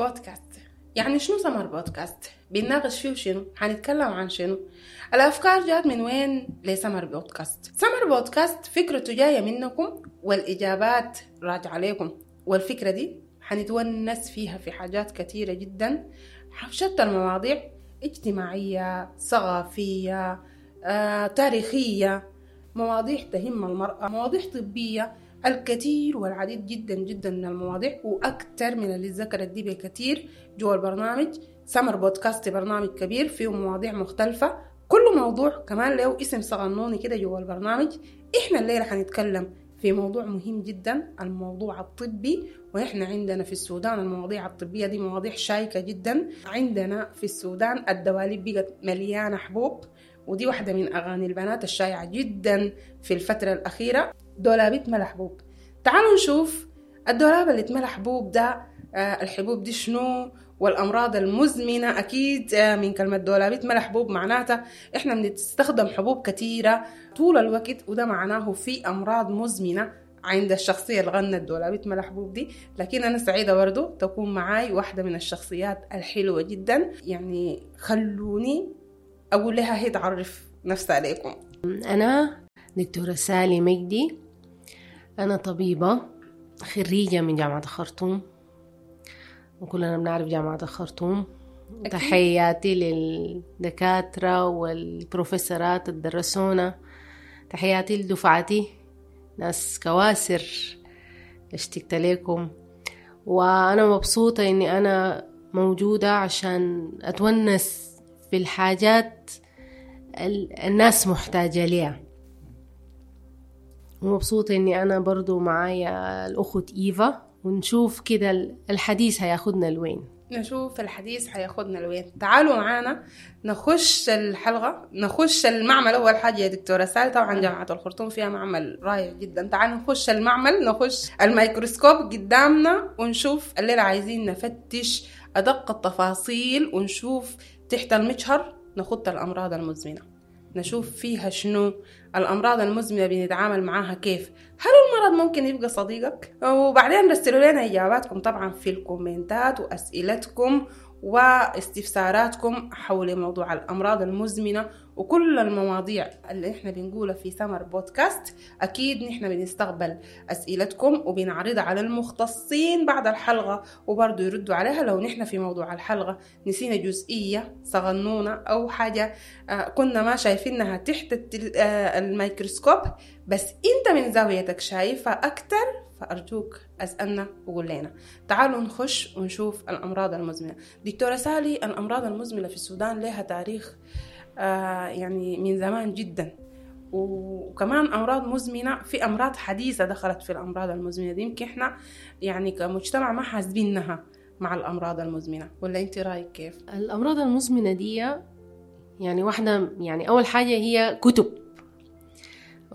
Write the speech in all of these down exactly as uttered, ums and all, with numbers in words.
بودكاست. يعني شنو سمر بودكاست؟ بنناقش فيه شنو؟ حنتكلم عن شنو؟ الأفكار جات من وين لسمر بودكاست؟ سمر بودكاست فكرته جاية منكم والإجابات راجعة لكم، والفكرة دي حنتونس فيها في حاجات كثيرة جدا، شتى المواضيع، اجتماعية، ثقافية، آه، تاريخية، مواضيع تهم المرأة، مواضيع طبية، الكثير والعديد جدا جدا من المواضيع، وأكثر من اللي ذكرت دي بكثير جوا البرنامج. سمر بودكاست برنامج كبير فيه مواضيع مختلفة، كل موضوع كمان له اسم صغنوني كده جوا البرنامج. إحنا الليلة حنتكلم في موضوع مهم جدا، الموضوع الطبي. ونحن عندنا في السودان المواضيع الطبية دي مواضيع شائكة جدا. عندنا في السودان الدواليب بقت مليانة حبوب، ودي واحدة من أغاني البنات الشائعة جدا في الفترة الأخيرة، دولابي اتملى حبوب. تعالوا نشوف الدولاب اللي اتملى حبوب ده، آه الحبوب دي شنو، والأمراض المزمنة. أكيد آه من كلمة دولابي اتملى حبوب معناتها إحنا بنستخدم حبوب كثيرة طول الوقت، وده معناه في أمراض مزمنة عند الشخصية اللي غنت دولابي اتملى حبوب دي. لكن أنا سعيدة برضو تكون معاي واحدة من الشخصيات الحلوة جدا، يعني خلوني أقول لها هي تعرف نفسها عليكم. أنا دكتورة سالي مجدي، أنا طبيبة خريجة من جامعة الخرطوم، وكلنا بنعرف جامعة الخرطوم. أكيد. تحياتي للدكاترة والبروفيسورات اللي درسونا، تحياتي لدفعتي ناس كواسر، اشتقت لكم. وأنا مبسوطة إني أنا موجودة عشان أتونس في الحاجات الناس محتاجة ليها، ومبسوطة إني أنا برضو معايا الأخت إيفا، ونشوف كده الحديث هياخدنا لوين. نشوف الحديث هياخدنا لوين. تعالوا معانا نخش الحلقة، نخش المعمل. أول حاجة يا دكتورة سالي، طبعا جامعة الخرطوم فيها معمل رائع جدا، تعالوا نخش المعمل، نخش الميكروسكوب قدامنا ونشوف الليلة. عايزين نفتش أدق التفاصيل ونشوف تحت المجهر نخط الأمراض المزمنة، نشوف فيها شنو الأمراض المزمنة، بنتعامل معاها كيف، هل المرض ممكن يبقى صديقك؟ وبعدين رسلوا لنا إجاباتكم طبعا في الكومنتات وأسئلتكم واستفساراتكم حول موضوع الأمراض المزمنة وكل المواضيع اللي احنا بنقولها في سمر بودكاست. أكيد نحن بنستقبل أسئلتكم وبنعرضها على المختصين بعد الحلقة، وبرضو يردوا عليها لو نحن في موضوع الحلقة نسينا جزئية صغنونة أو حاجة كنا ما شايفينها تحت الميكروسكوب، بس انت من زاويتك شايفها أكتر، فأرجوك أسألنا وقول لنا. تعالوا نخش ونشوف الأمراض المزمنة. دكتورة سالي، الأمراض المزمنة في السودان لها تاريخ آه يعني من زمان جدا، وكمان أمراض مزمنة، في أمراض حديثة دخلت في الأمراض المزمنة دي، يمكن إحنا يعني كمجتمع ما حاسبينها مع الأمراض المزمنة، ولا أنت رأيك كيف؟ الأمراض المزمنة دي يعني واحدة، يعني أول حاجة هي كتب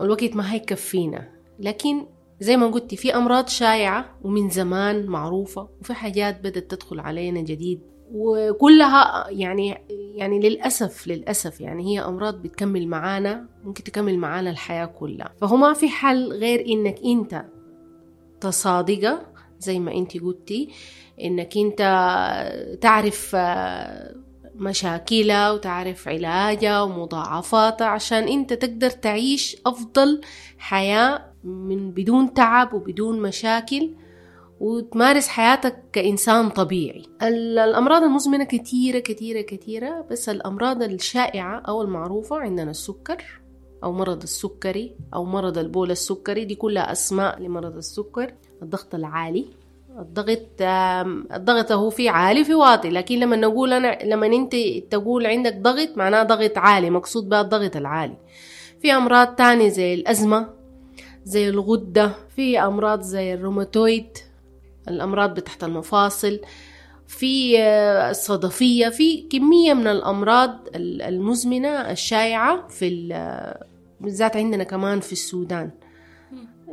الوقت ما هيكفينا، لكن زي ما قلت في أمراض شائعة ومن زمان معروفة، وفي حاجات بدأت تدخل علينا جديد، وكلها يعني يعني للأسف للأسف يعني هي أمراض بتكمل معانا، ممكن تكمل معانا الحياة كلها. فهو ما في حل غير إنك أنت تصادقة زي ما أنت قلتي، إنك أنت تعرف مشاكلها وتعرف علاجها ومضاعفاتها، عشان أنت تقدر تعيش أفضل حياة من بدون تعب وبدون مشاكل، وتمارس حياتك كإنسان طبيعي. الأمراض المزمنة كثيرة كثيرة كثيرة، بس الأمراض الشائعة أو المعروفة عندنا السكر أو مرض السكري أو مرض البول السكري، دي كلها أسماء لمرض السكر. الضغط العالي، الضغط الضغط هو في عالي في واطي، لكن لما نقول أنا لما أنت تقول عندك ضغط معناه ضغط عالي، مقصود بها الضغط العالي. في أمراض تانية زي الأزمة، زي الغدة، في أمراض زي الروماتويد، الأمراض بتحت المفاصل، في الصدفية، في كمية من الأمراض المزمنة الشائعة في بالذات عندنا كمان في السودان.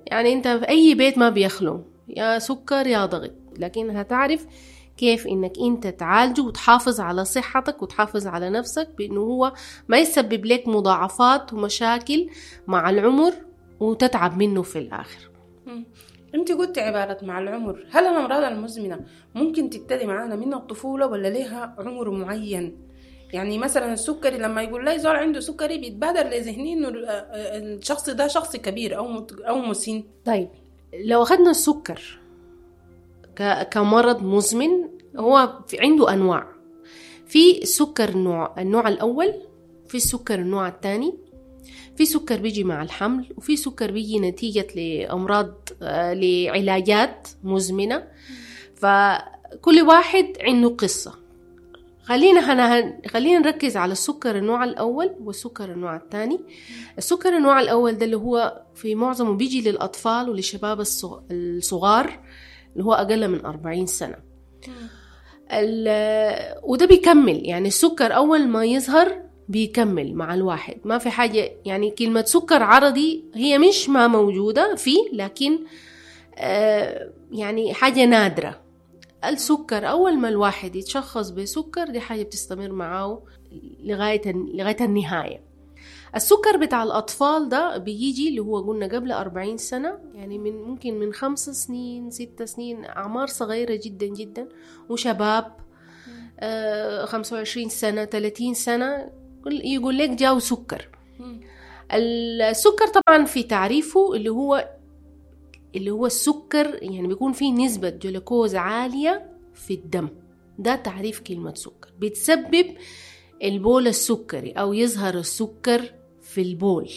يعني أنت في أي بيت ما بيخلو يا سكر يا ضغط، لكن هتعرف كيف إنك أنت تعالجه وتحافظ على صحتك وتحافظ على نفسك بأنه هو ما يسبب لك مضاعفات ومشاكل مع العمر وتتعب منه في الآخر. انت قلت عبارة مع العمر، هل الأمراض المزمنة ممكن تبتدي معانا من الطفولة ولا لها عمر معين؟ يعني مثلا السكري لما يقول لي زول عنده سكري بيتبادر لذهني انه الشخص ده شخص كبير او او مسن. طيب لو اخذنا السكر كمرض مزمن، هو في عنده انواع. في سكر نوع النوع الاول، في السكر النوع الثاني، في سكر بيجي مع الحمل، وفي سكر بيجي نتيجة لأمراض لعلاجات مزمنة. فكل واحد عنده قصة. خلينا هنا خلينا نركز على السكر النوع الأول والسكر النوع الثاني. السكر النوع الأول ده اللي هو في معظمه بيجي للأطفال وللشباب الصغار اللي هو أقل من أربعين سنة، وده بيكمل. يعني السكر أول ما يظهر بيكمل مع الواحد، ما في حاجة. يعني كلمة سكر عرضي هي مش ما موجودة فيه، لكن آه يعني حاجة نادرة. السكر أول ما الواحد يتشخص بسكر دي حاجة بتستمر معاه لغاية لغاية النهاية. السكر بتاع الأطفال ده بيجي اللي هو قلنا قبل أربعين سنة، يعني من ممكن من خمس سنين ست سنين، أعمار صغيرة جدا جدا، وشباب آه خمسة وعشرين سنة ثلاثين سنة يقول لك جاو سكر. السكر طبعا في تعريفه اللي هو اللي هو السكر يعني بيكون فيه نسبة جلوكوز عالية في الدم، ده تعريف كلمة سكر. بتسبب البول السكري أو يظهر السكر في البول،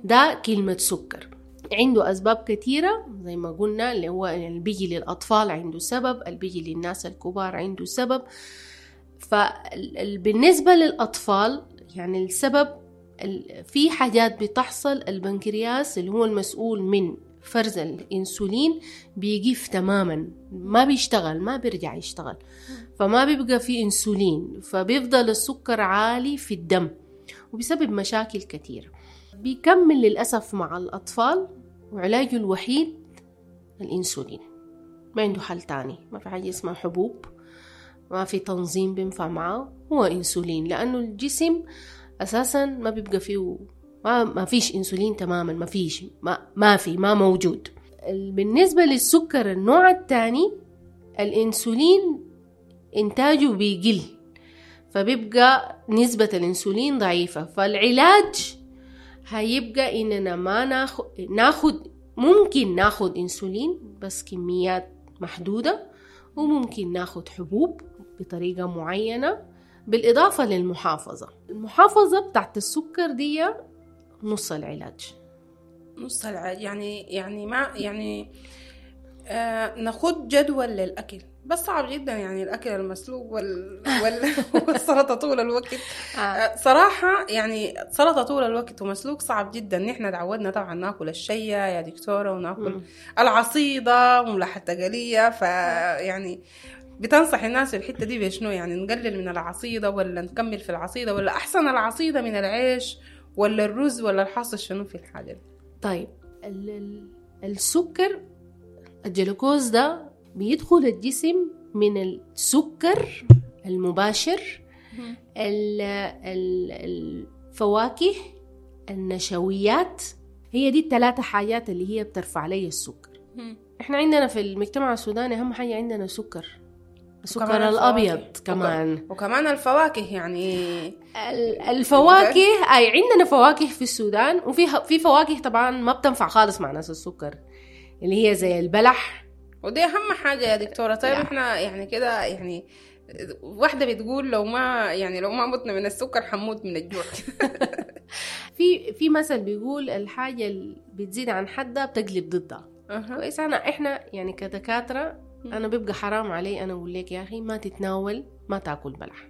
ده كلمة سكر. عنده أسباب كثيرة زي ما قلنا، اللي هو اللي بيجي للأطفال عنده سبب، اللي بيجي للناس الكبار عنده سبب. فبالنسبة للأطفال يعني السبب في حاجات بتحصل، البنكرياس اللي هو المسؤول من فرز الإنسولين بيجيف تماما، ما بيشتغل، ما بيرجع يشتغل، فما بيبقى في إنسولين، فبيفضل السكر عالي في الدم وبيسبب مشاكل كثيرة. بيكمل للأسف مع الأطفال، وعلاجه الوحيد الإنسولين، ما عنده حل تاني، ما في حاجة اسمها حبوب، ما في تنظيم بينفع معه، هو إنسولين، لأنه الجسم أساسا ما بيبقى فيه، ما, ما فيش إنسولين تماما، ما فيش، ما, ما في، ما موجود. بالنسبة للسكر النوع الثاني الإنسولين إنتاجه بيقل، فبيبقى نسبة الإنسولين ضعيفة، فالعلاج هيبقى إننا ما ناخد, ناخد ممكن ناخد إنسولين بس كميات محدودة، وممكن ناخد حبوب بطريقة معينة، بالإضافة للمحافظة. المحافظة بتاعت السكر دي نص العلاج. نص العلاج يعني يعني ما يعني آه ناخد جدول للأكل، بس صعب جدا يعني الأكل المسلوق وال... وال... والسلطة طول الوقت. آه. صراحة يعني سلطة طول الوقت ومسلوق صعب جدا. نحن تعودنا طبعا ناكل الشية يا دكتورة، وناكل م. العصيدة وملاحة التقلية، فيعني بتنصح الناس في الحتة دي بشنو؟ يعني نقلل من العصيدة ولا نكمل في العصيدة، ولا أحسن العصيدة من العيش ولا الرز، ولا الحاصل شنو في الحاجة دي؟ طيب ال... السكر الجلوكوز ده بيدخل الجسم من السكر المباشر، الفواكه، النشويات، هي دي الثلاثة حاجات اللي هي بترفع لي السكر. احنا عندنا في المجتمع السوداني اهم حاجة عندنا سكر، السكر الأبيض كمان، وكمان الفواكه. يعني الفواكه أي عندنا فواكه في السودان، وفي في فواكه طبعا ما بتنفع خالص مع ناس السكر، اللي هي زي البلح، ودي أهم حاجة يا دكتورة. طيب احنا يعني كده يعني واحدة بتقول لو ما يعني لو ما متنا من السكر حنموت من الجوع. في في مثل بيقول الحاجة اللي بتزيد عن حدها بتقلب ضدها. كويس. أنا احنا يعني كدكاترة أنا بيبقى حرام علي أنا أقول لك يا أخي ما تتناول، ما تاكل بلح.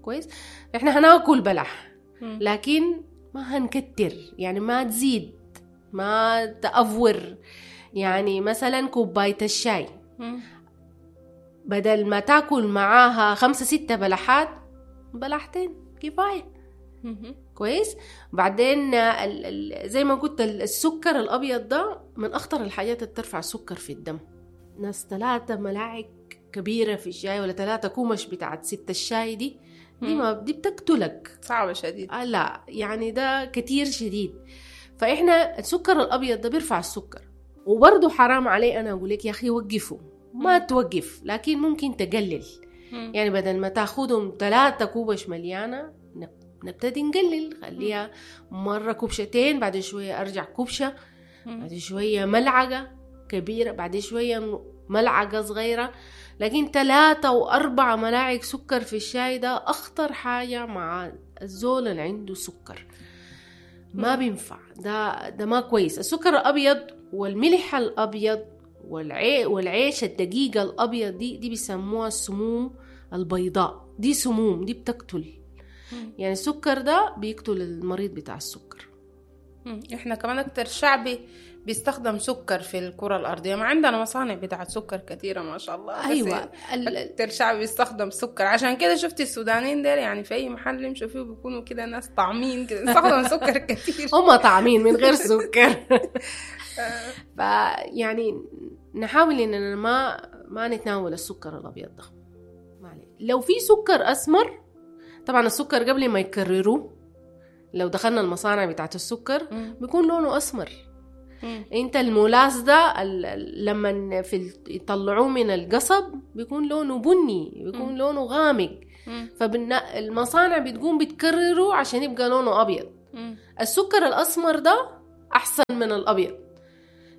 كويس. احنا هناكل بلح لكن ما هنكتر، يعني ما تزيد، ما تأفور. يعني مثلا كوباية الشاي بدل ما تاكل معاها خمسة ستة بلحات، بلحتين كفاية. كويس. بعدين ال ال زي ما قلت السكر الأبيض ده من أخطر الحاجات اللي ترفع السكر في الدم. ناس ثلاثة ملاعق كبيرة في الشاي ولا ثلاثة كومش بتاعت ستة الشاي دي دي ما دي بتقتلك، صعبة شديد. آه لا يعني ده كتير شديد. فإحنا السكر الأبيض ده بيرفع السكر. وبرضه حرام علي أنا أقول لك يا أخي وقفوا، ما توقف، لكن ممكن تقلل. مم. يعني بدل ما تاخدهم ثلاثة كوبش مليانة نبتدي نقلل، خليها مرة كوبشتين، بعد شوية أرجع كوبشة، بعد شوية ملعقة كبيرة، بعد شوية ملعقة صغيرة. لكن ثلاثة وأربعة ملاعق سكر في الشاي ده أخطر حاجة مع الزول اللي عنده سكر، ما بينفع، ده ده ما كويس. السكر الأبيض والملح الأبيض والعي والعيش الدقيقة الأبيض دي دي بيسموها السموم البيضاء، دي سموم، دي بتقتل. يعني السكر ده بيقتل المريض بتاع السكر. احنا كمان اكتر شعبي بيستخدم سكر في الكرة الأرضية، ما عندنا مصانع بتاعت سكر كثيرة ما شاء الله. أيوة، أكتر شعب بيستخدم سكر، عشان كده شفتي السودانيين ديل يعني في أي محل يمشوا فيه بيكونوا كده ناس طعمين كده، بيستخدموا سكر كثير. هم طعمين من غير سكر. فيعني نحاول إننا ما ما نتناول السكر الأبيض ده. لو في سكر أسمر، طبعا السكر قبل ما يكرروه لو دخلنا المصانع بتاعت السكر بيكون لونه أسمر. مم. انت المولاس ده لما في يطلعوه من القصب بيكون لونه بني، بيكون مم. لونه غامق. فالمصانع بتقوم بتكرره عشان يبقى لونه أبيض. مم. السكر الأسمر ده أحسن من الأبيض،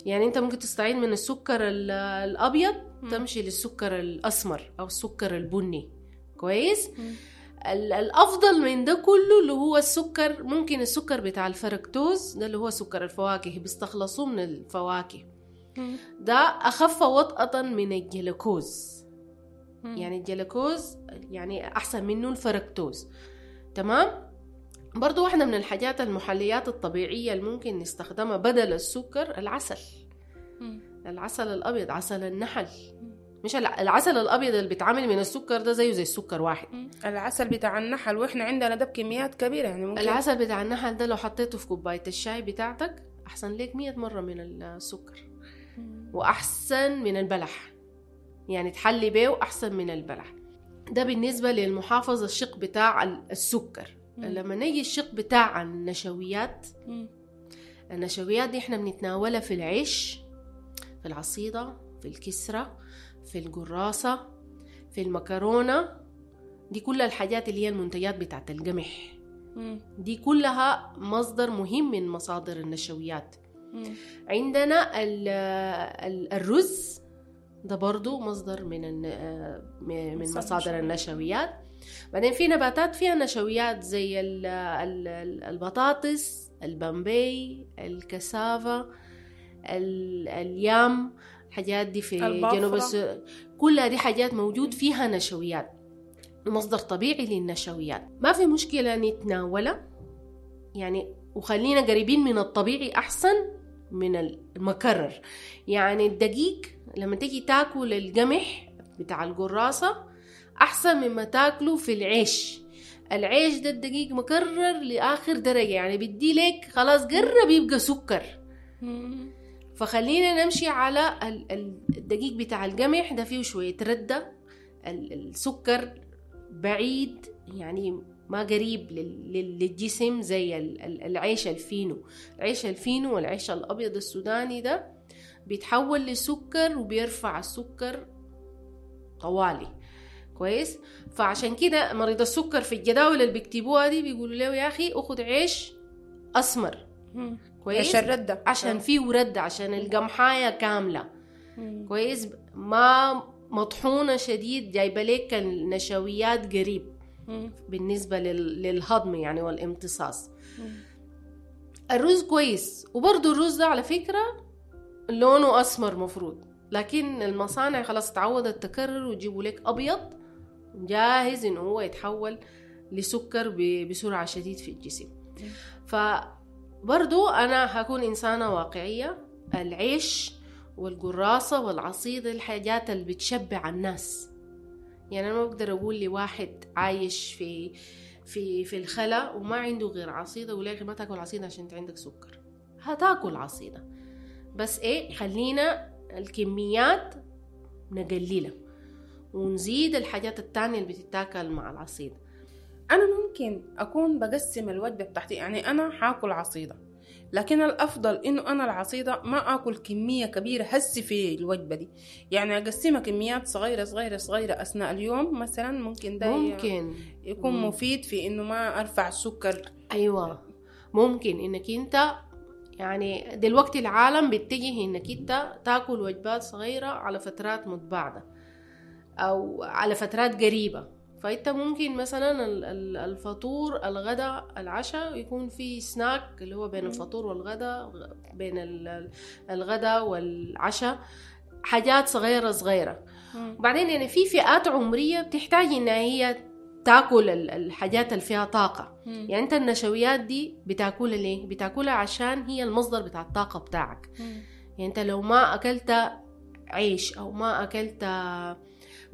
يعني انت ممكن تستعين من السكر الأبيض مم. تمشي للسكر الأسمر أو السكر البني. كويس. مم. الأفضل من ده كله اللي هو السكر، ممكن السكر بتاع الفركتوز ده اللي هو سكر الفواكه، بيستخلصوه من الفواكه، ده أخف وطأة من الجلوكوز. يعني الجلوكوز يعني أحسن منه الفركتوز. تمام. برضو واحدة من الحاجات المحليات الطبيعية اللي ممكن نستخدمها بدل السكر العسل. العسل الأبيض، عسل النحل، مش العسل الأبيض اللي بيتعمل من السكر ده زيه زي السكر واحد. العسل بتاع النحل، وإحنا عندنا ده بكميات كبيرة يعني ممكن. العسل بتاع النحل ده لو حطيته في كوباية الشاي بتاعتك أحسن لك مية مرة من السكر، وأحسن من البلح، يعني تحلي بيه أحسن من البلح. ده بالنسبة للمحافظة الشق بتاع السكر. مم. لما نيجي الشق بتاع النشويات، مم. النشويات دي إحنا بنتناولها في العيش، في العصيدة، في الكسرة، في القراصة، في المكرونة، دي كل الحاجات اللي هي المنتجات بتاعت القمح. مم. دي كلها مصدر مهم من مصادر النشويات. مم. عندنا ال ال الرز ده برضو مصدر من من مصادر النشويات. بعدين في نباتات فيها نشويات زي ال ال البطاطس، البامبي، الكسافة، اليام، الحاجات دي في جنوب السودان، كلها دي حاجات موجود فيها نشويات، مصدر طبيعي للنشويات. ما في مشكلة نتناولها يعني، وخلينا قريبين من الطبيعي أحسن من المكرر. يعني الدقيق لما تيجي تاكل القمح بتاع القراصة أحسن مما تاكله في العيش. العيش ده الدقيق مكرر لآخر درجة، يعني بدي لك خلاص قرب يبقى سكر. فخلينا نمشي على الدقيق بتاع القمح ده، فيه شوية ردة، السكر بعيد يعني ما قريب للجسم زي العيش الفينو. العيش الفينو والعيش الأبيض السوداني ده بيتحول لسكر وبيرفع السكر طوالي. كويس. فعشان كده مريض السكر في الجداول اللي بيكتبوها دي بيقولوا له يا أخي أخذ عيش أسمر. كويس، عشان ردة، عشان فيه ردة، عشان القمحاية كاملة. مم. كويس، ما مطحونة شديد، جايبة لك النشويات قريب. مم. بالنسبة للهضم يعني والامتصاص. مم. الرز كويس، وبرضو الرز ده على فكرة لونه أسمر مفروض، لكن المصانع خلاص تعودت تكرر وتجيبوا لك أبيض جاهز إنه هو يتحول لسكر بسرعة شديد في الجسم. ف برضو أنا هكون إنسانة واقعية، العيش والقراصة والعصيدة الحاجات اللي بتشبع الناس. يعني أنا ما بقدر أقول لواحد عايش في في في الخلا وما عنده غير عصيدة ولا ما تاكل عصيدة عشان أنت عندك سكر، هتاكل عصيدة، بس إيه، خلينا الكميات نقللها ونزيد الحاجات التانية اللي بتتاكل مع العصيدة. أنا ممكن أكون بقسم الوجبة بتاعتي، يعني أنا حاكل عصيدة، لكن الأفضل إنه أنا العصيدة ما آكل كمية كبيرة هسي في الوجبة دي، يعني أقسمها كميات صغيرة صغيرة صغيرة أثناء اليوم مثلا، ممكن ده ممكن يكون مم. مفيد في إنه ما أرفع السكر. أيوة ممكن إنك أنت يعني دلوقتي العالم بيتجه إنك أنت تاكل وجبات صغيرة على فترات متباعدة أو على فترات قريبة، فأنت ممكن مثلا الفطور الغداء العشاء يكون في سناك اللي هو بين الفطور والغداء، بين الغداء والعشاء، حاجات صغيرة صغيرة. وبعدين يعني في فئات عمرية بتحتاج إنها هي تاكل الحاجات اللي فيها طاقة. مم. يعني انت النشويات دي بتاكلها ليه؟ بتاكلها عشان هي المصدر بتاع الطاقة بتاعك. مم. يعني انت لو ما اكلت عيش او ما اكلت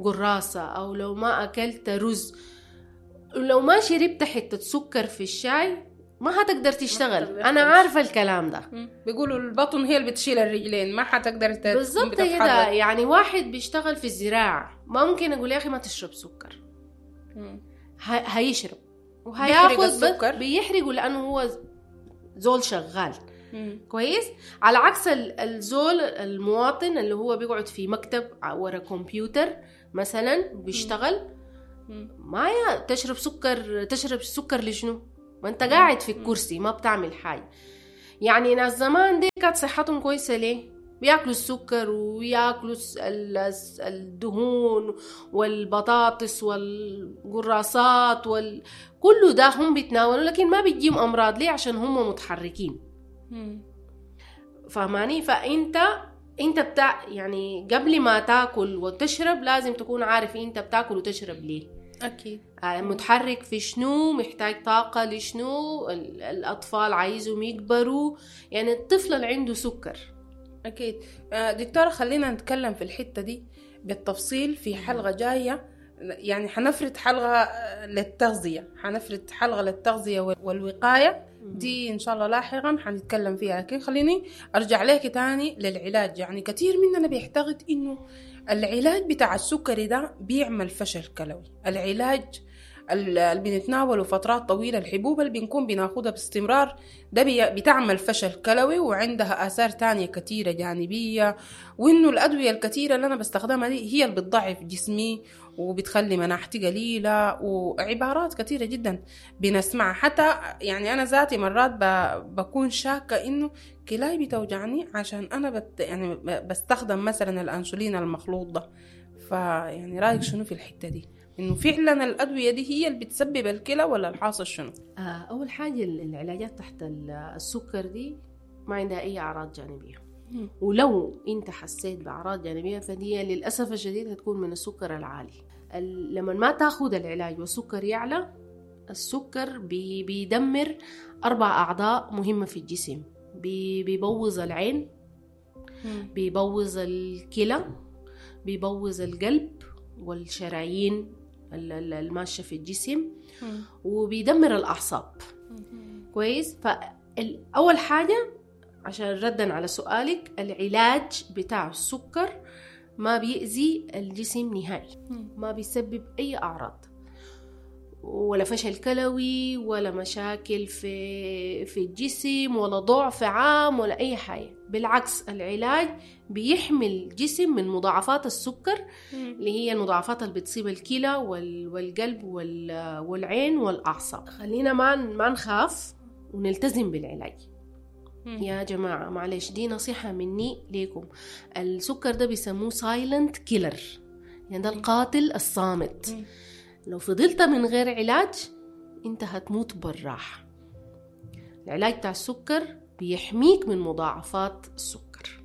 قراصة او لو ما اكلت رز، لو ما شربت حتة سكر في الشاي ما هتقدر تشتغل. انا عارفة الكلام ده. مم. بيقولوا البطن هي اللي بتشيل الرجلين، ما حتقدر ت... بالضبط كده. يعني واحد بيشتغل في الزراعة ما ممكن اقول يا اخي ما تشرب سكر، هيشرب وهياخد السكر، بيحرقه لأنه هو زول شغال. مم. كويس. على عكس الزول المواطن اللي هو بيقعد في مكتب ورا كمبيوتر مثلا بيشتغل، ما تشرب سكر، تشرب سكر لشنو؟ ما انت قاعد في الكرسي ما بتعمل حاجة. يعني ناس زمان دي كانت صحتهم كويسة ليه؟ بياكلوا السكر وياكلوا الدهون والبطاطس والقراصات وال... كله ده هم بيتناولوا، لكن ما بيجيهم أمراض. ليه؟ عشان هم متحركين. فهماني؟ فأنت انت بتاع يعني قبل ما تاكل وتشرب لازم تكون عارف انت بتاكل وتشرب ليه. أكيد. متحرك في شنو، محتاج طاقة لشنو، الأطفال عايزهم يكبروا، يعني الطفل اللي عنده سكر. أكيد. دكتورة خلينا نتكلم في الحتة دي بالتفصيل في حلقة جاية، يعني حنفرد حلقة للتغذية، حنفرد حلقة للتغذية والوقاية دي إن شاء الله لاحقا حنتكلم فيها. لكن خليني أرجع لك تاني للعلاج. يعني كثير مننا بيعتقد إنه العلاج بتاع السكري ده بيعمل فشل كلوي، العلاج اللي بنتناوله فترات طويلة، الحبوب اللي بنكون بناخدها باستمرار ده بتعمل فشل كلوي وعندها آثار تانية كثيرة جانبية، وإنه الأدوية الكثيرة اللي أنا بستخدمها دي هي اللي بتضعف جسمي وبتخلي مناعتي قليلة، وعبارات كثيرة جدا بنسمعها. حتى يعني أنا ذاتي مرات بكون شاكة إنه كلاي بتوجعني عشان أنا بت يعني بستخدم مثلا الأنسولين المخلوط ده. فيعني رأيك شنو في الحتة دي؟ إنه فعلا الأدوية دي هي اللي بتسبب الكلى ولا الحاصل شنو؟ أول حاجة العلاجات تحت السكر دي ما عندها أي أعراض جانبية. م. ولو أنت حسيت بأعراض جانبية فدي للأسف الشديد هتكون من السكر العالي. لما ما تاخد العلاج والسكر يعلى، السكر بي بيدمر أربع أعضاء مهمة في الجسم. بي بيبوظ العين، بيبوظ الكلى، بيبوظ القلب والشرايين الماشية في الجسم، وبيدمر الأعصاب. كويس. فأول حاجة عشان ردا على سؤالك، العلاج بتاع السكر ما بيأذي الجسم نهائي، ما بيسبب أي أعراض، ولا فشل كلوي ولا مشاكل في في الجسم ولا ضعف عام ولا أي حاجة. بالعكس العلاج بيحمي الجسم من مضاعفات السكر اللي هي المضاعفات اللي بتصيب الكلى والقلب والعين والأعصاب. خلينا ما ما نخاف ونلتزم بالعلاج. يا جماعة معلش دي نصيحة مني ليكم، السكر ده بيسموه silent killer، يعني ده القاتل الصامت. لو فضلت من غير علاج انت هتموت بالراحة. العلاج بتاع السكر بيحميك من مضاعفات السكر.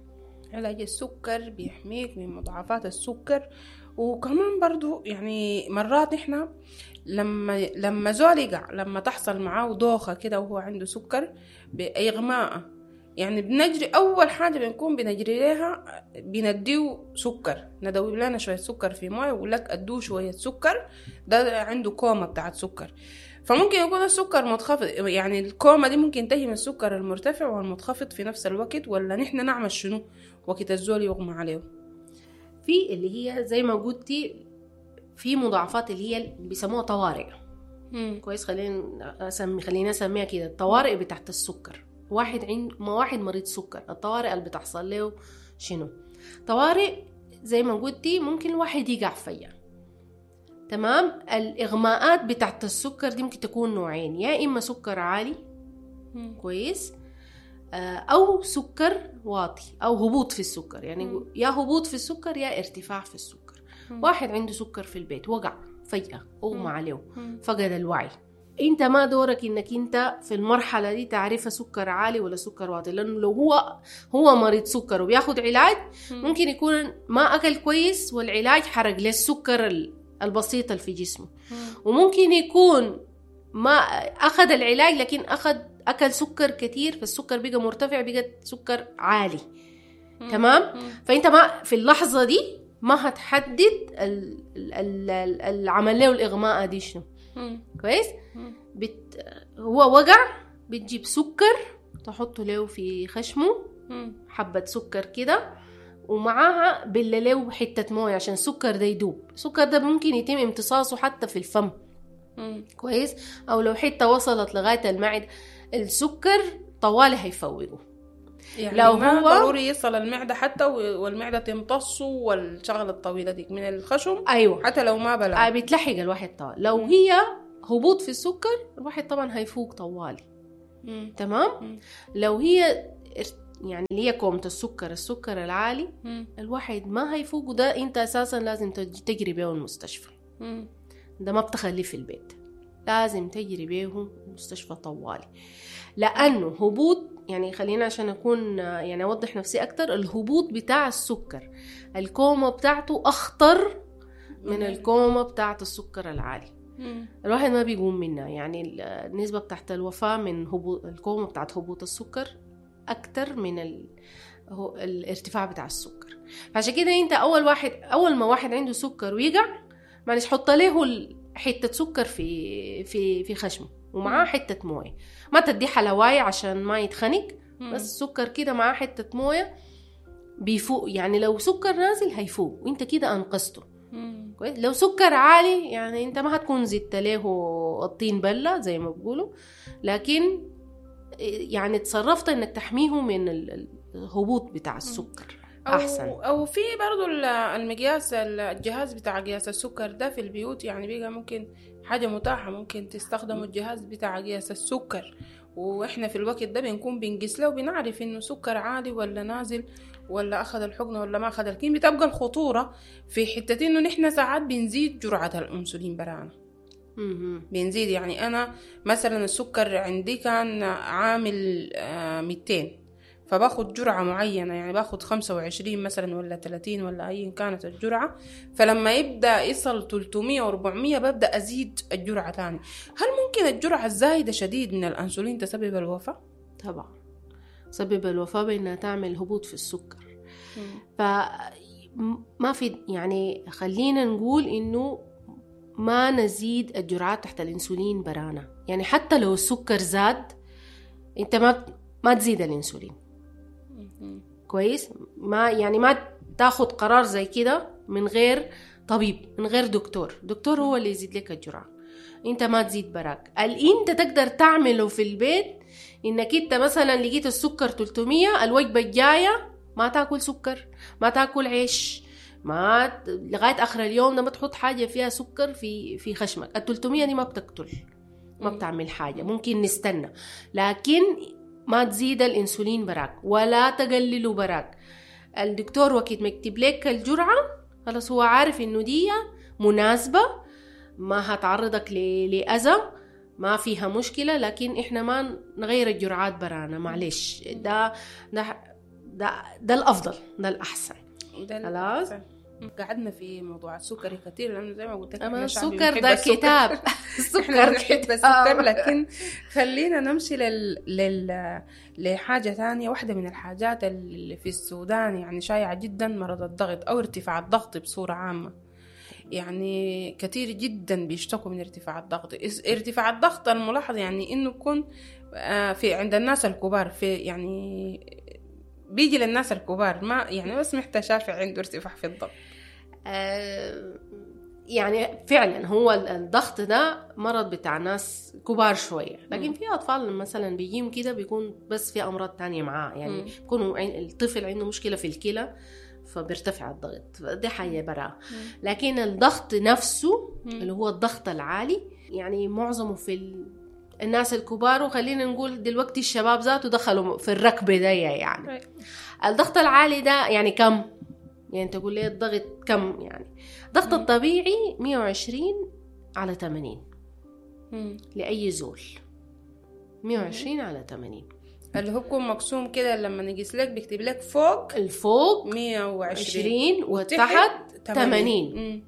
علاج السكر بيحميك من مضاعفات السكر. وكمان برضو يعني مرات احنا لما لما زول يقع، لما تحصل معاه دوخة كده وهو عنده سكر بإغماء، يعني بنجري أول حاجة بنكون بنجري لها بنديه سكر، ندوب لنا شوية سكر في موية ويقول لك أدوه شوية سكر، ده عنده كوما بتاعت سكر. فممكن يكون السكر منخفض، يعني الكوما دي ممكن تهي من السكر المرتفع والمنخفض في نفس الوقت، ولا نحن نعمل شنو وقت الزول يغمى عليه؟ في اللي هي زي ما قلتي في مضاعفات اللي هي بيسموها طوارئ. مم. كويس، خلينا أسمي خلينا أسميها كده الطوارئ بتاعت السكر. واحد عند ما واحد مريض سكر، الطوارئ اللي بتحصل له شنو؟ طوارئ زي ما قلتي ممكن الواحد يقع فيها. تمام. الإغماءات بتاعت السكر دي ممكن تكون نوعين، يا إما سكر عالي مم. كويس، أو سكر واطي أو هبوط في السكر، يعني مم. يا هبوط في السكر يا ارتفاع في السكر. مم. واحد عنده سكر في البيت وقع فجأة، أغمى عليه، مم. فقد الوعي. انت ما دورك انك انت في المرحلة دي تعرفها سكر عالي ولا سكر واطي، لانه لو هو هو مريض سكر وبياخد علاج مم. ممكن يكون ما اكل كويس والعلاج حرق له السكر البسيط اللي في جسمه، مم. وممكن يكون ما اخذ العلاج لكن اخذ اكل سكر كتير فالسكر بقى مرتفع، بقى سكر عالي. مم. تمام. مم. فانت ما في اللحظة دي ما هتحدد ال- ال- ال- العمل له الاغماء دي شنو. مم. كويس. مم. بت... هو وقع، بتجيب سكر تحطه له في خشمه، مم. حبة سكر كده، ومعاها بلله حتة موية عشان السكر ده يدوب. السكر ده ممكن يتم امتصاصه حتى في الفم. مم. كويس. او لو حتة وصلت لغاية المعدة السكر طوالي هيفوقه. يعني لو ما هو ضروري يصل المعدة حتى والمعدة تمتصه والشغلة الطويلة ديك من الخشم. ايوه، حتى لو ما بلع آه بتلحق الواحد طوال. لو هي هبوط في السكر الواحد طبعا هيفوق طوالي. مم. تمام. مم. لو هي يعني اللي هي كومة السكر، السكر العالي، مم. الواحد ما هيفوق، وده انت اساسا لازم تجري بيه المستشفى. مم. ده ما بتخليه في البيت، لازم تجري بيه المستشفى طوالي، لانه هبوط، يعني خلينا عشان اكون يعني اوضح نفسي اكتر، الهبوط بتاع السكر الكومة بتاعته اخطر من الكومة بتاعت السكر العالي. مم. الواحد ما بيقوم منها، يعني النسبة بتاعت الوفاة من هبوط الكومة بتاعت هبوط السكر أكتر من ال... هو الارتفاع بتاع السكر. فعشان كده انت أول واحد أول ما واحد عنده سكر ويقع، معلش حط له حتة سكر في في في خشمه ومعاه حتة موية، ما تدي حلواية عشان ما يتخنق، بس سكر كده معاه حتة موية بيفوق. يعني لو سكر نازل هيفوق وانت كده أنقذته. كويس. لو سكر عالي يعني انت ما هتكون زدت له الطين بلة زي ما بيقولوا، لكن يعني تصرفت انك تحميه من الهبوط بتاع السكر احسن. او, أو في برضو المقياس، الجهاز بتاع قياس السكر ده في البيوت، يعني بيبقى ممكن حاجة متاحة، ممكن تستخدموا الجهاز بتاع قياس السكر، واحنا في الوقت ده بنكون بنقيس له وبنعرف انه سكر عالي ولا نازل ولا اخذ الحقنة ولا ما اخذ. لكن بتبقى الخطورة في حتة انه نحن ساعات بنزيد جرعة الانسولين برانا، بنزيد. يعني انا مثلا السكر عندي كان عامل ميتين، فباخد جرعة معينة، يعني باخد خمسة وعشرين مثلا ولا ثلاثين ولا أي كانت الجرعة، فلما يبدأ يصل ثلاثمية وأربعمية ببدأ أزيد الجرعة تاني. هل ممكن الجرعة الزايدة شديد من الأنسولين تسبب الوفاة؟ طبعا تسبب الوفاة بأنها تعمل هبوط في السكر. فما في يعني خلينا نقول إنه ما نزيد الجرعات تحت الأنسولين برانا، يعني حتى لو السكر زاد أنت ما ما تزيد الأنسولين. كويس. ما يعني ما تاخد قرار زي كده من غير طبيب، من غير دكتور. دكتور هو اللي يزيد لك الجرعة، انت ما تزيد براك. اللي انت تقدر تعمله في البيت انك انت مثلا لقيت السكر ثلاثمية، الوجبة الجاية ما تاكل سكر، ما تاكل عيش، ما لغاية اخر اليوم ده ما تحط حاجة فيها سكر في في خشمك. ال ثلاثمية دي ما بتقتل، ما بتعمل حاجة، ممكن نستنى، لكن ما تزيد الانسولين براك ولا تقلله براك. الدكتور وقت ما يكتب لك الجرعة خلاص هو عارف انه دي مناسبة، ما هتعرضك لأذى، ما فيها مشكلة، لكن احنا ما نغير الجرعات برانا، معلش. ده ده ده, ده الافضل، ده الاحسن. ده خلاص قعدنا في موضوع السكر كتير، لانه زي ما قلت لك احنا السكر ده كتاب، السكر بنحب السكر. لكن خلينا نمشي لل... لل... لحاجة ثانية. واحدة من الحاجات اللي في السودان يعني شائعة جدا مرض الضغط او ارتفاع الضغط بصورة عامة. يعني كثير جدا بيشتكوا من ارتفاع الضغط. ارتفاع الضغط الملاحظ يعني انه يكون في عند الناس الكبار، في يعني بيجي للناس الكبار، ما يعني بس محتاج شافع عنده ارتفاع في الضغط. آه يعني فعلا هو الضغط ده مرض بتاع ناس كبار شوية، لكن في اطفال مثلا بيجيهم كده بيكون بس في امراض تانية معاه، يعني بيكونوا الطفل عنده مشكلة في الكلى فبيرتفع الضغط، دي حاجة براها. لكن الضغط نفسه مم. اللي هو الضغط العالي يعني معظمه في ال... الناس الكبار، وخلينا نقول دلوقتي الشباب ذاته دخلوا في الركبة دي يعني. الضغط العالي ده يعني كم؟ يعني تقول لي الضغط كم؟ يعني الضغط الطبيعي مية وعشرين على ثمانين لأي زول، مية وعشرين على ثمانين اللي هو بيكون مقسوم كده لما نقيس لك بيكتب لك فوق الفوق مية وعشرين وتحت ثمانين.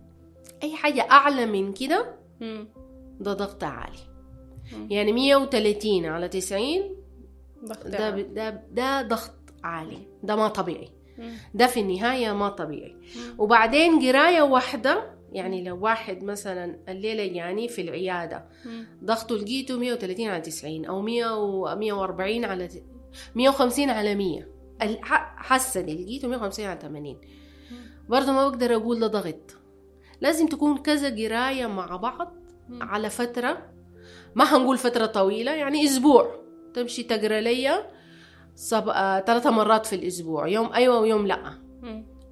أي حاجة أعلى من كده ده ضغط عالي. مم. يعني مية وثلاثين على تسعين ده, ده, ده ضغط عالي، ده ما طبيعي. مم. ده في النهاية ما طبيعي. مم. وبعدين قراية واحدة، يعني لو واحد مثلا الليلة يعني في العيادة ضغطه لقيته مية وثلاثين على تسعين أو مية وأربعين على مية وخمسين على مية، حاسة دي لقيته مية وخمسين على ثمانين، برضه ما بقدر أقول ده ضغط. لازم تكون كذا قراية مع بعض على فترة، ما هنقول فترة طويلة، يعني أسبوع تمشي تقرأ لي سب... ثلاثة مرات في الأسبوع، يوم أيوة ويوم لأ،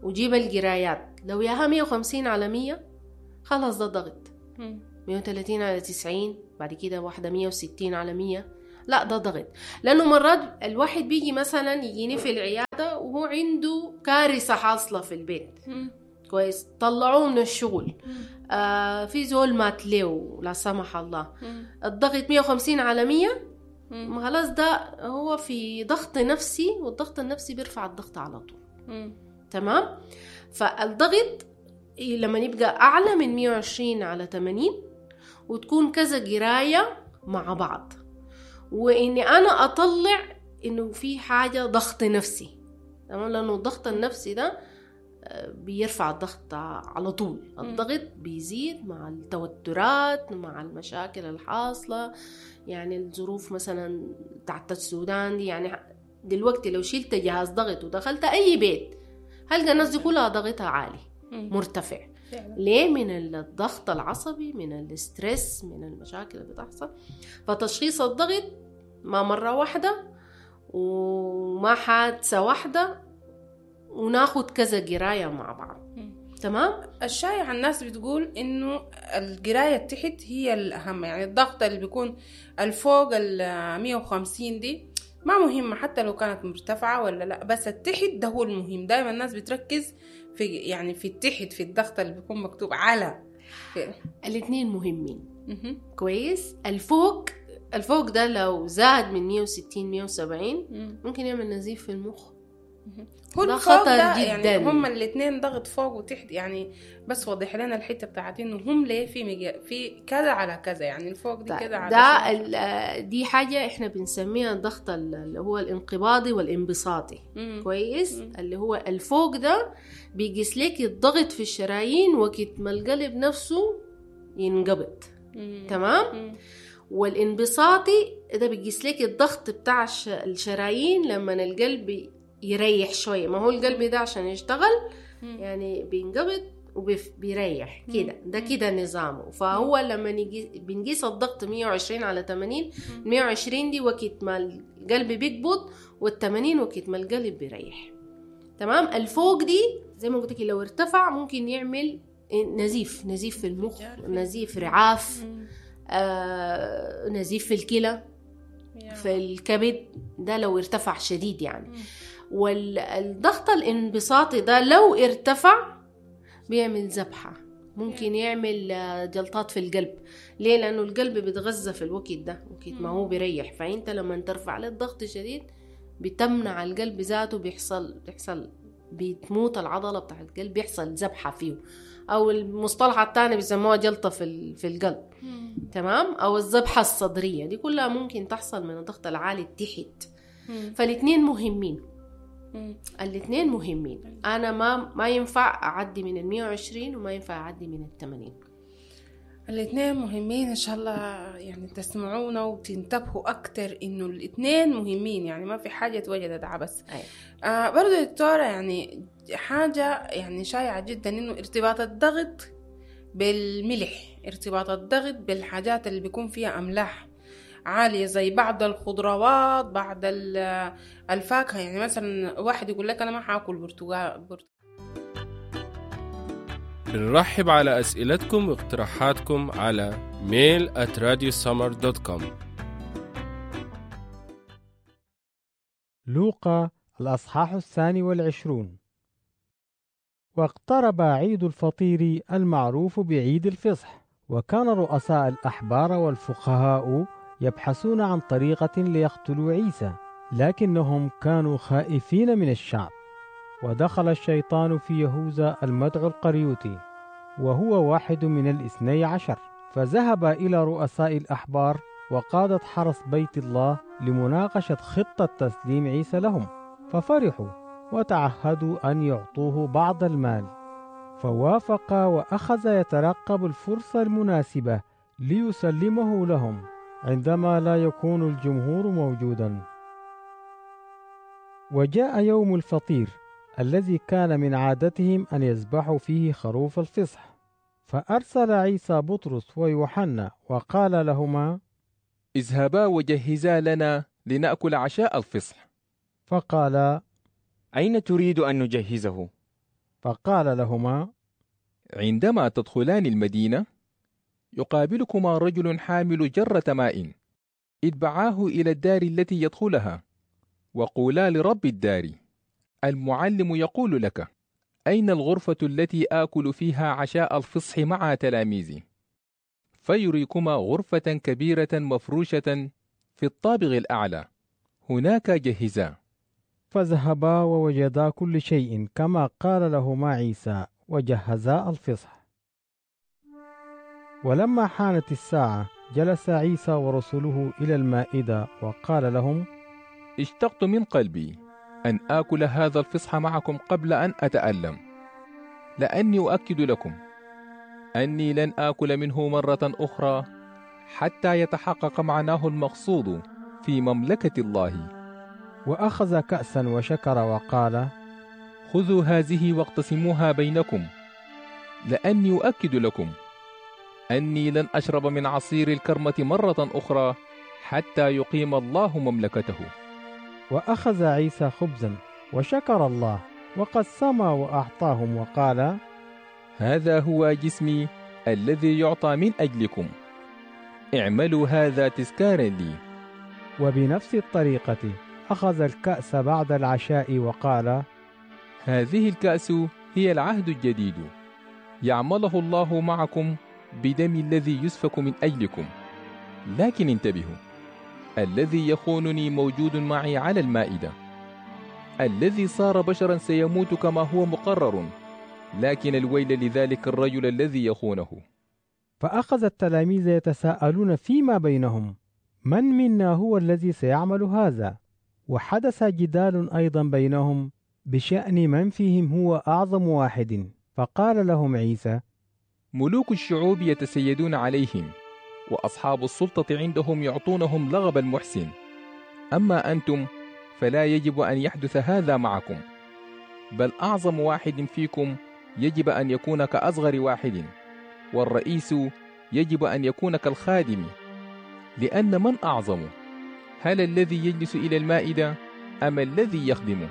وجيب القرايات. لو ياها مية وخمسين على مية خلاص ده ضغط، مية وثلاثين على تسعين، بعد كده واحدة مية وستين على مية، لا ده ضغط. لأنه مرات الواحد بيجي مثلا يجيني في العيادة وهو عنده كارثة حاصلة في البيت، كويس، طلعوه من الشغل، آه في زول مات له لا سمح الله، الضغط مية وخمسين على مية، ما خلاص ده هو في ضغط نفسي، والضغط النفسي بيرفع الضغط على طول. تمام. فالضغط لما يبقى أعلى من مية وعشرين على ثمانين وتكون كذا قراية مع بعض، وإني أنا أطلع إنه في حاجة ضغط نفسي، تمام، لأنه الضغط النفسي ده بيرفع الضغط على طول. الضغط بيزيد مع التوترات، مع المشاكل الحاصلة، يعني الظروف مثلا تحت السودان دي، يعني دلوقتي لو شلت جهاز ضغط ودخلت أي بيت هلقى الناس دي كلها ضغطها عالي مرتفع. فعلا. ليه؟ من الضغط العصبي، من الاسترس، من المشاكل اللي بتحصل. فتشخيص الضغط ما مرة واحدة وما حادثة واحدة، وناخد كذا قراية مع بعض. تمام. الشائع الناس بتقول انه القراية تحت هي الأهم، يعني الضغط اللي بيكون الفوق ال مية وخمسين دي ما مهمة حتى لو كانت مرتفعة ولا لا، بس التحت ده هو المهم. دايما الناس بتركز في يعني في التحت، في الضغط اللي بيكون مكتوب على. الاثنين مهمين. كويس. الفوق الفوق ده لو زاد من مية وستين مية وسبعين ممكن يعمل نزيف في المخ. هو ده خطر ده جدا. يعني هم الاثنين ضغط فوق وتحت، يعني بس وضح لنا الحتة بتاعت انه هم ليه في مج... في كذا على كذا، يعني الفوق دي كذا على ده. دي حاجة احنا بنسميها الضغط اللي هو الانقباضي والانبساطي. مم. كويس. مم. اللي هو الفوق ده بيقيس لك الضغط في الشرايين وقت ما القلب نفسه ينقبض. مم. تمام. مم. والانبساطي ده بيقيس لك الضغط بتاع الشرايين لما القلب يريح شوية. ما هو القلب ده عشان يشتغل يعني بينقبض وبيريح كده، ده كده نظامه. فهو لما نجي بنقيس الضغط مية وعشرين على ثمانين، مية وعشرين دي وقت ما القلب بيقبض، والثمانين وقت ما القلب بيريح. تمام. الفوق دي زي ما قلت لك لو ارتفع ممكن يعمل نزيف، نزيف في المخ، نزيف رعاف، آه، نزيف في الكلى، في الكبد، ده لو ارتفع شديد يعني. والضغط الانبساطي ده لو ارتفع بيعمل ذبحة، ممكن يعمل جلطات في القلب. ليه؟ لأنه القلب بيتغذى في الوقت ده، وقت ما هو بيريح. فأنت لما ترفع له الضغط شديد بتمنع القلب ذاته، بيحصل بيحصل بتموت العضلة بتاع القلب، بيحصل ذبحة فيه، أو المصطلح الثاني بيسموها جلطة في في القلب. تمام. أو الذبحة الصدرية، دي كلها ممكن تحصل من الضغط العالي تحت. فالاثنين مهمين، الاثنين مهمين. أنا ما ما ينفع أعدي من المية وعشرين وما ينفع أعدي من الثمانين. الاثنين مهمين. إن شاء الله يعني تسمعونا وتنتبهوا أكتر إنه الاثنين مهمين، يعني ما في حاجة توجدت عبس. أيوة. آه برضو دكتورة، يعني حاجة يعني شائعة جدا إنه ارتباط الضغط بالملح، ارتباط الضغط بالحاجات اللي بيكون فيها أملاح عالية زي بعض الخضروات، بعض الفاكهة. يعني مثلا واحد يقول لك أنا ما حاكل برتقال. بنرحب على أسئلتكم واقتراحاتكم على mail at radiosummer dot com. لوقا الأصحاح الثاني والعشرون. واقترب عيد الفطير المعروف بعيد الفصح، وكان رؤساء الأحبار والفقهاء يبحثون عن طريقة ليقتلوا عيسى، لكنهم كانوا خائفين من الشعب. ودخل الشيطان في يهوذا المدعو القريوتي، وهو واحد من الاثني عشر، فذهب إلى رؤساء الأحبار وقادة حرس بيت الله لمناقشة خطة تسليم عيسى لهم، ففرحوا وتعهدوا أن يعطوه بعض المال. فوافق وأخذ يترقب الفرصة المناسبة ليسلمه لهم عندما لا يكون الجمهور موجودا. وجاء يوم الفطير الذي كان من عادتهم أن يذبحوا فيه خروف الفصح، فأرسل عيسى بطرس ويوحنا وقال لهما: اذهبا وجهزا لنا لنأكل عشاء الفصح. فقال: أين تريد أن نجهزه؟ فقال لهما: عندما تدخلان المدينة يقابلكما رجل حامل جرة ماء، اتبعاه إلى الدار التي يدخلها، وقولا لرب الدار: المعلم يقول لك: أين الغرفة التي آكل فيها عشاء الفصح مع تلاميذي؟ فيريكما غرفة كبيرة مفروشة في الطابق الأعلى، هناك جهزا. فذهبا ووجدا كل شيء كما قال لهما عيسى، وجهزا الفصح. ولما حانت الساعة جلس عيسى ورسله إلى المائدة وقال لهم: اشتقت من قلبي أن آكل هذا الفصح معكم قبل أن أتألم، لأني أؤكد لكم أني لن آكل منه مرة أخرى حتى يتحقق معناه المقصود في مملكة الله. وأخذ كأسا وشكر وقال: خذوا هذه واقتسموها بينكم، لأني أؤكد لكم أني لن أشرب من عصير الكرمة مرة أخرى حتى يقيم الله مملكته. وأخذ عيسى خبزا وشكر الله وقسم وأعطاهم وقال: هذا هو جسمي الذي يعطى من أجلكم، اعملوا هذا تذكارا لي. وبنفس الطريقة أخذ الكأس بعد العشاء وقال: هذه الكأس هي العهد الجديد يعمله الله معكم بدم الذي يسفك من أجلكم. لكن انتبهوا، الذي يخونني موجود معي على المائدة. الذي صار بشرا سيموت كما هو مقرر، لكن الويل لذلك الرجل الذي يخونه. فأخذ التلاميذ يتساءلون فيما بينهم: من منا هو الذي سيعمل هذا؟ وحدث جدال أيضا بينهم بشأن من فيهم هو أعظم واحد. فقال لهم عيسى: ملوك الشعوب يتسيدون عليهم، وأصحاب السلطة عندهم يعطونهم لغب المحسن. أما أنتم فلا يجب أن يحدث هذا معكم، بل أعظم واحد فيكم يجب أن يكون كأصغر واحد، والرئيس يجب أن يكون كالخادم. لأن من أعظم؟ هل الذي يجلس إلى المائدة أم الذي يخدمه؟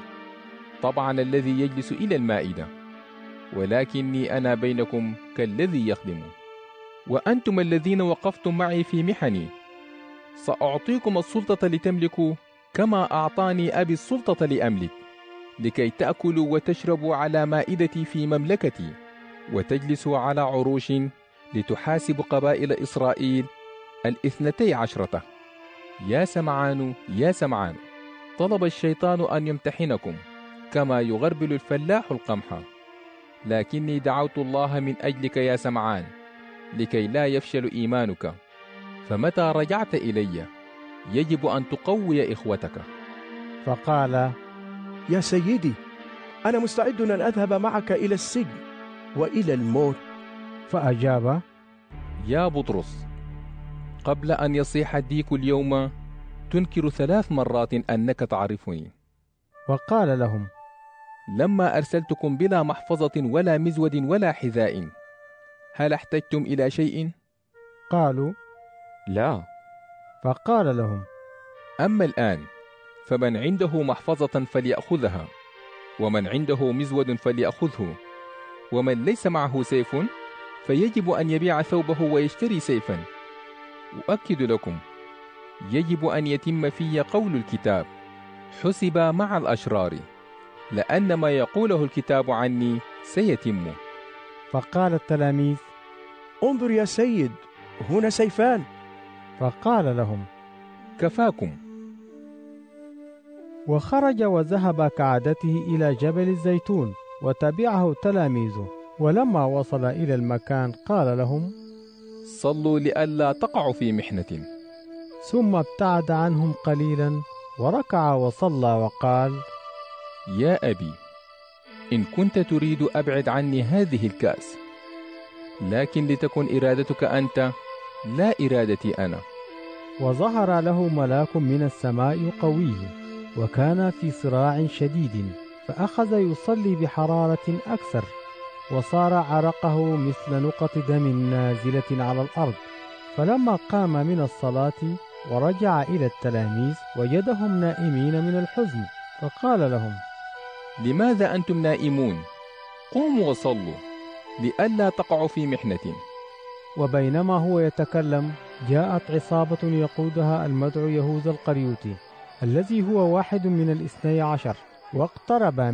طبعا الذي يجلس إلى المائدة، ولكني أنا بينكم كالذي يخدم. وأنتم الذين وقفتم معي في محني، سأعطيكم السلطة لتملكوا كما أعطاني أبي السلطة لأملك، لكي تأكلوا وتشربوا على مائدتي في مملكتي، وتجلسوا على عروش لتحاسبوا قبائل إسرائيل الاثنتي عشرة. يا سمعان يا سمعان، طلب الشيطان أن يمتحنكم كما يغربل الفلاح القمح، لكني دعوت الله من أجلك يا سمعان لكي لا يفشل إيمانك. فمتى رجعت إلي يجب أن تقوي إخوتك. فقال: يا سيدي، أنا مستعد أن أذهب معك إلى السجن وإلى الموت. فأجاب: يا بطرس، قبل أن يصيح الديك اليوم تنكر ثلاث مرات أنك تعرفني. وقال لهم: لما أرسلتكم بلا محفظة ولا مزود ولا حذاء، هل احتجتم إلى شيء؟ قالوا: لا. فقال لهم: أما الآن فمن عنده محفظة فليأخذها، ومن عنده مزود فليأخذه، ومن ليس معه سيف فيجب أن يبيع ثوبه ويشتري سيفا. أؤكد لكم، يجب أن يتم في قول الكتاب: حسب مع الأشرار، لأن ما يقوله الكتاب عني سيتم. فقال التلاميذ: انظر يا سيد، هنا سيفان. فقال لهم: كفاكم. وخرج وذهب كعادته إلى جبل الزيتون، وتبعه تلاميذه. ولما وصل إلى المكان قال لهم: صلوا لئلا تقعوا في محنة. ثم ابتعد عنهم قليلا وركع وصلى وقال: يا أبي، إن كنت تريد أبعد عني هذه الكأس، لكن لتكن إرادتك أنت لا إرادتي أنا. وظهر له ملاك من السماء يقويه، وكان في صراع شديد، فأخذ يصلي بحرارة أكثر، وصار عرقه مثل نقط دم نازلة على الأرض. فلما قام من الصلاة ورجع إلى التلاميذ وجدهم نائمين من الحزن، فقال لهم: لماذا أنتم نائمون؟ قوموا وصلوا لئلا تقعوا في محنة. وبينما هو يتكلم جاءت عصابة يقودها المدعو يهوذا القريوتي، الذي هو واحد من الاثني عشر، واقترب